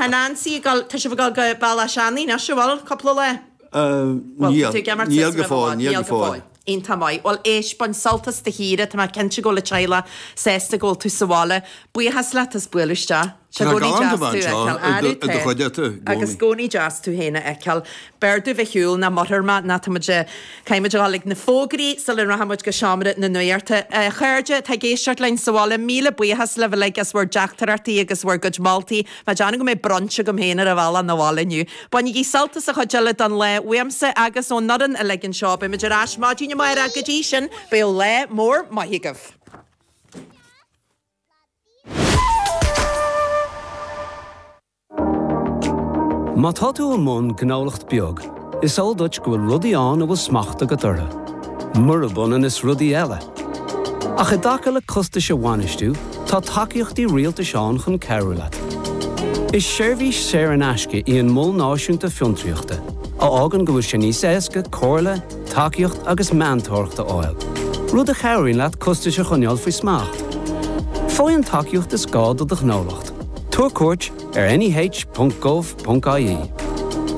Tá Nancy ag dul, tá sibh ag dul go Bealach Seanaidh anois, an bhfuil? Cúpla lá? Bhuel, tá tú ag imirt Níl go fóill, níl go fóill. Iontach maith. Bhuel, éist, bain sult as do shaoire, tá mé cinnte go bhfuil an teaghlach sásta go bhfuil tú sa bhaile. Buíochas leat as bualadh isteach. Tá sé galánta a bheith anseo i do chuideachta i gcónaí. Agus i gcónaí deas tú féin a fheiceáil. B'fhearr domh a shiúl ná mothair mé ná tá muid caithfidh muid a dhul ag na fógraí sula rachaidh muid go seomra na nuachta. A chairde atá ag éisteacht linn sa bhaile, míle buíochas libh uilig as bhur dteachtaireachtaí agus bhur gcuid moltaí. Mé ag déanamh go mbeidh brunch agam féin ar an bhealach 'na bhaile inniu. Bainigí sult as an chuid eile den lá uaimse agus ón fhoireann uilig anseo. Beidh muid ar ais maidin amárach. Go dtí sin, bíodh lá mór maith agaibh. Má tá tú i mbun gnólacht beag, is eol duit go bhfuil rudaí ann a bhfuil smacht agat orthu, murab ionann is rudaí eile. Ach i dtaca le costais a bhainistiú, tá tacaíochtaí rialtais ann chun cabhrú leat. Is seirbhís saor in aisce í an Mol Náisiúnta Fiontraíochta, a fhágann go bhfuil sé níos éasca comhairle, tacaíocht agus meantóireacht a fháil, rud a chabhraíonn leat costais a choinneáil faoi smacht. Faigh an tacaíocht is gá do do ghnólacht. Tabhair cuairt ar neh.gov.ie.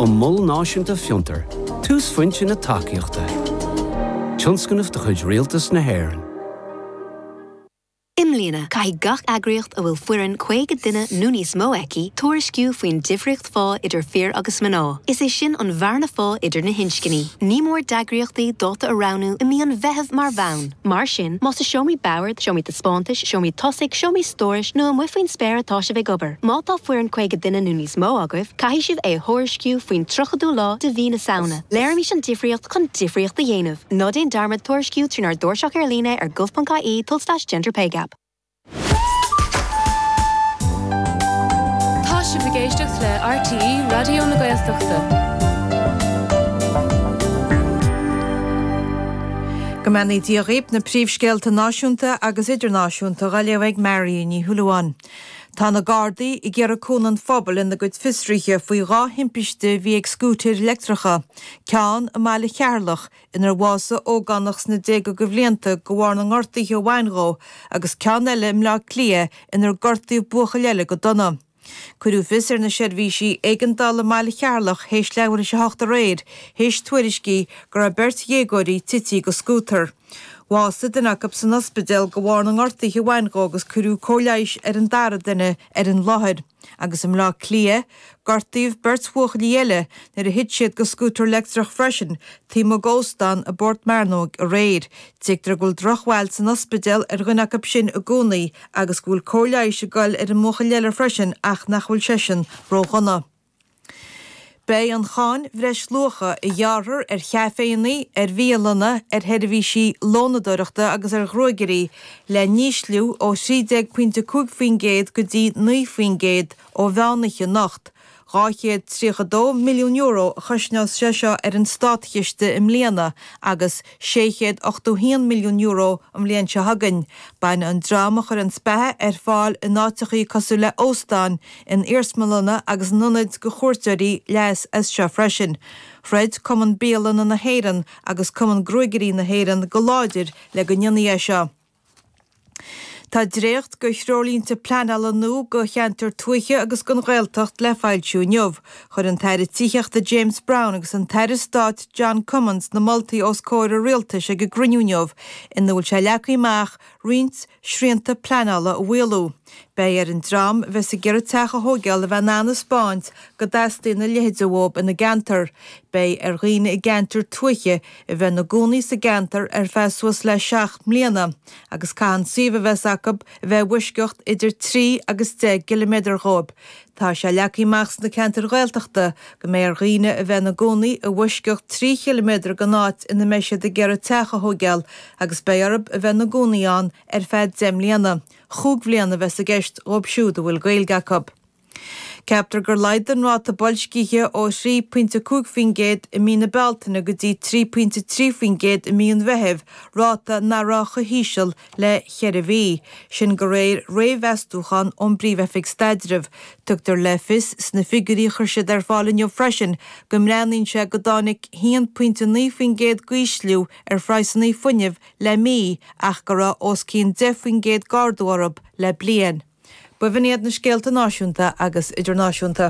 An Mol Náisiúnta Fiontar, túsphointe na tacaíochta. Tionscnamh de chuid Rialtas na hÉireann. I mbliana, caithfidh gach eagraíocht a bhfuil foireann 50 duine nó níos mó aici tuairisciú faoin difríocht phá idir fir agus mná, is é sin an bhearna phá idir na hinscní. Ní mór d'eagraíochtaí dáta a roghnú i mí an Mheithimh mar bhonn. Mar sin, más i seomraí boird, seomraí taispeántais, seomraí tosaigh, seomraí stórais nó amuigh faoin spéir atá sibh ag obair, má tá foireann 50 duine nó níos mó agaibh, caithfidh sibh é a thuairisciú faoin 30ú lá de mhí na Samhna. Léirímis an difríocht chun difríocht a dhéanamh! Ná déan dearmad tuairisciú trínár dtairseach ar líne ar gov.ie tulslais genderpaygap. Tá sibh ag éisteacht le RTÉ Raidió na Gaeltachta. Go mbeannaí Dia dhaoib, na príomhscéalta náisiúnta agus idirnáisiúnta dhá léamh ag Marion Ní Shúilleabháin. Tá na Gardaí ag iarraidh cúnamh an phobail ina gcuid fiosruithe faoi dha thimpiste a bhí ag scútair leictreacha, ceann i mbaile Cheatharlach inar bhásaigh ógánach sna déaga de bhlianta de bharr na ngortuithe a bhain dhó agus ceann eile i mBleá Cliath inar gortaíodh buachaill eile go dona. Cuireadh fios ar na seirbhísí éigeandála i mbaile Cheatharlach théis leathuair théis a hocht aréir théis tuairiscí go raibh beirt dhéagóirí tití go scútar. Bhásaigh duine acu san ospidéal de bharr na ngortuithe a bhain dhó agus cuireadh cóir leighis ar an dara duine ar an láthair. Agus i mBleá Cliath, gortaíodh beirt bhuachaillí eile nuair a thit siad go scútar leictreach freisin taobh amuigh d'óstán i bPort Mearnóg aréir. Tuigtear go bhfuil drochbhail san ospidéal ar dhuine acu sin i gcónaí agus go bhfuil cóir leighis ag goil ar an mbuachaill eile freisin ach nach bhfuil seisean ródhona. Beidh an cháin bhreisluacha a ghearrfar ar chaiféanna, ar bhialanna, ar sheirbhísí lónadóireachta agus ar ghruagairí le n-ísliú ó 13 pointe 5% go dtí 9% ó mheánoíche anocht. €232 milliún a chosnós sé seo ar an státchiste i mbliana agus €681 milliún an bhliain seo chugainn. Bainfidh an dream a chuireanns beatha ar fáil in áiteachaí cosúil le óstáin, in iarsmalanna agus in ionaid do chuairteoirí leas as seo freisin. Throid Cumann Bialanna na hÉireann agus Cumann Gruagairí na hÉireann go láidir le go ndéanfaí é seo. Tá dréacht de threoirlínte pleanála nua do cheantair tuaithe agus don Ghaeltacht le foilsiú inniu. Chuir an tAire Tithíochta James Browne agus an tAire Stáit John Cummins na moltaí os comhair an Rialtais ag an gcruinniú inniu ina bhfuil sé leagtha amach roinnt srianta pleanála a mhaolú. Beidh ar an dream a bheas ag iarraidh teach a thóigeáil a bheith in ann a 'spáint go dteastaíonn a leithéid uathu ina gceantar. Beidh ar dhaoine i gceantair tuaithe a bheith ina gcónaí sa gceantar ar feadh suas le 7 mbliana agus caithfidh an suíomh a bheas acu a bheith i bhfoisceacht idir 3 agus 10 gciliméadar dhóibh. Tá sé leagtha amach sna ceantair Ghaeltachta go mbeidh ar dhaoine a bheith ina gcónaí i bhfoisceacht 3 chiliméadar den áit ina mbeidh siad ag iarraidh teach a thóigeáil agus beidh orthu a bheith ina gcónaí ann ar feadh 10 mbliana. Chúig bhliana a bheas i gceist dhóibh siúd a bhfuil Gaeilge acu. Ceaptar gur laghdaigh an ráta boilscithe ó 3.5% i mí na Bealtaine go dtí 3.3% i mí an Mheithimh, ráta nach raibh chomh híseal le ceithre mhí. Sin de réir réamh-mheastúchán ón bPríomh-Oifig Staidrimh. Tugtar le fios sna figiúirí a chuir siad ar fáil inniu freisin go mbreathnaíonn sé go dtáinig 1.9% d'ísliú ar phraghsanna fuinnimh le mí ach go raibh os cionn 10% d'ardú orthu le bliain. B'in iad na scéalta náisiúnta agus idirnáisiúnta.